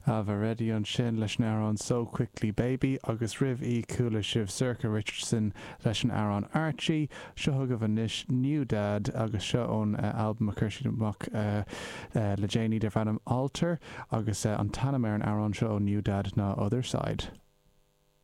Ailbhe Reddy ansin leis an amhrán So Quickly Baby agus roimh í chuala sibh Sorcha Richardson leis an amhrán Archie. Seo chugaibh anois New Dad agus seo ón albam a chuir siad amach le déanaí darb ainm Altar agus an t-ainm ar an amhrán seo ó New Dad ná Other Side.